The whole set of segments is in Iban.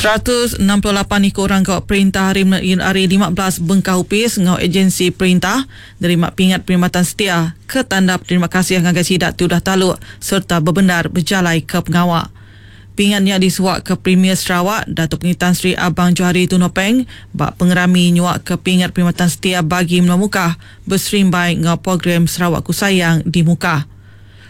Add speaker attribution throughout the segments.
Speaker 1: 168 iku orang gawa perintah ari ari 15 bengkah opis enggau ejensi perintah nerima pingat perkhidmatan setia ke tanda beterima kasih ngagai sida ti udah taluk sereta bebendar bejalaika pengawa. Pingat nya disuaka Premier Sarawak Datuk Patinggi Tan Sri Abang Johari Tun Openg ba pengerami nyuaka Pingat Perkhidmatan Setia Bagi Menua Mukah beserimbai enggau Program Sarawakku Sayang di Mukah.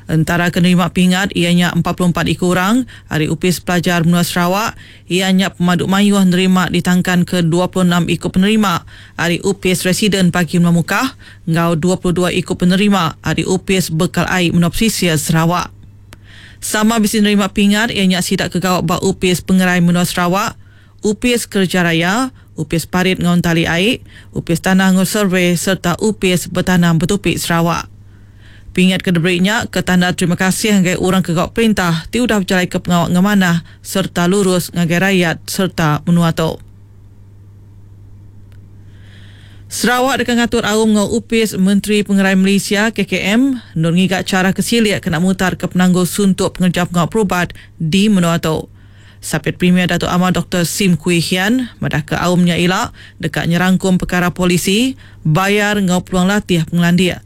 Speaker 1: Entara ke nerima pingat iya nya 44 iku orang ari Opis Pelajar Menua Sarawak iya nya pemadu mayuh nerima ditangkanka 26 iku penerima ari Opis Residen Bagi Menua Mukah enggau 22 iku penerima ari Opis Bekal Ai Menua Pesisir Sarawak. Sama bisi nerima pingat iya nya sida ke gawa ba Opis Pengerai Menua Sarawak, Opis Kereja Raya, Opis Parit enggau Entali Ai, Opis Tanah enggau Survei sereta Opis Betanam Betupi Sarawak. Pingat ke diberi nya ke tanda terima kasih ngagai orang ke gawa perintah ti udah bejalaika pengawa ngemanah sereta lurus ngagai rayat sereta menua tu. Sarawak deka ngatur aum enggau Opis Menteri Pengerai Malaysia, KKM, endur ngiga chara ke silik kena mutarka penanggul suntuk pengereja pengawa perubat di menua tu. Sapit Premier Datuk Amar Doktor Sim Kui Hian madahka aum nya ila deka nyerangkum pekara polisi, bayar enggau peluang latih pengelandik.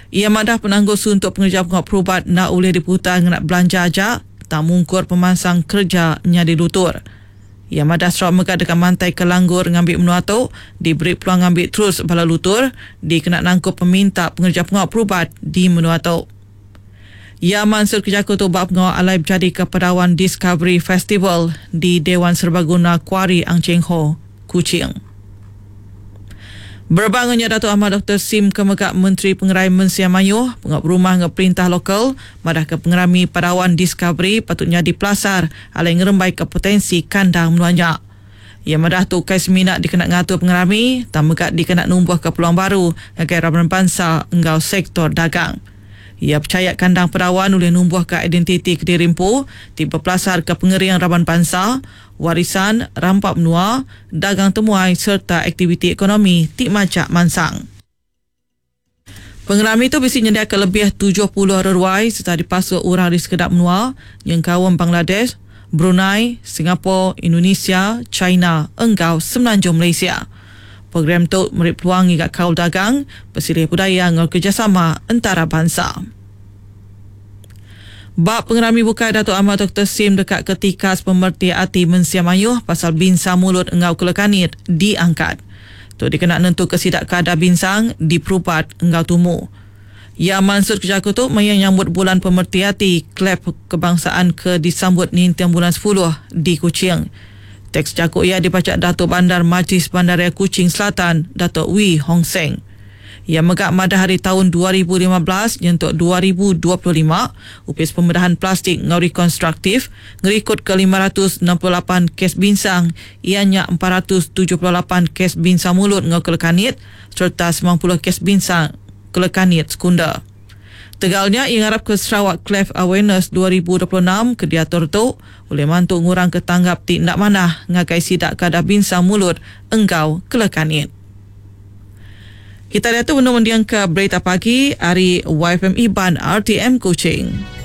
Speaker 1: Iya madah penanggul suntuk pengereja pengawa perubat enda ulih diputar ngena belanja aja tang mungkur pemansang kereja nyadi lutur. Iya madah Sarawak mega deka mantaika langgur ngambi menua tu diberi peluang ngambi terus bala lutur dikena nangkup peminta pengereja pengawa perubat di menua tu. Iya mansutka jaku tu ba pengawa alai bejadika Padawan Discovery Festival di Dewan Serbaguna Kuari Ang Cheng Ho, Kuching. Berebak enggau nya Datuk Amar Doktor Sim ke mega Menteri Pengerai Mensia Mayuh, Pengawa Berumah enggau Perintah Lokal madahka pengerami Padawan Discovery patut nyadi pelasar alai ngerembaika potensi kandang menua nya. Iya madah tu ukai semina dikena ngatur pengerami tang mega dikena numbuhka peluang baru ngagai raban bansa enggau sektor dagang. Iya pechaya kandang Padawan ulih numbuhka identiti kediri empu ti bepelasarka pengering raban bansa, warisan, rampa menua, dagang temuai sereta aktiviti ekonomi ti majak mansang. Pengerami tu bisi nyendiaka lebih 70 reruai sereta dipasuk orang ari sekeda menua nyengkaum Bangladesh, Brunei, Singapore, Indonesia, China enggau Semenanjung Malaysia. Program tu meri peluang ngiga kaul dagang, besilih budaya enggau kerejasama entarabansa. Ba pengerami bukai Datuk Amar Doktor Sim deka ke tikas pemereti ati mensia mayuh pasal binsang mulut enggau kelekanit diangkat. Tu dikena nentuka sida ke ada binsang diperubat enggau tumu. Iya mansutka jaku tu maya nyambut Bulan Pemereti Ati Kleb Kebangsaan ke disambut ninting bulan sepuluh di Kuching. Teks jaku iya dibacha Datuk Bandar Majlis Bandaraya Kuching Selatan Datuk Wee Hong Seng. Iya mega madah ari taun 2015 nyentuk 2025, Opis Pemedahan Plastik enggau Rekonstruktif ngerikutka 568 kes binsang iya nya 478 kes binsang mulut enggau kelekanit sereta 90 kes binsang kelekanit sekunder. Tegal nya, iya ngarapka Sarawak Cleft Awareness 2026 ke diatur tu ulih mantu ngurangka tanggap ti enda manah ngagai sida ke ada binsang mulut enggau kelekanit. Kita diatu benung mendingka Berita Pagi ari YFM Iban RTM Kuching.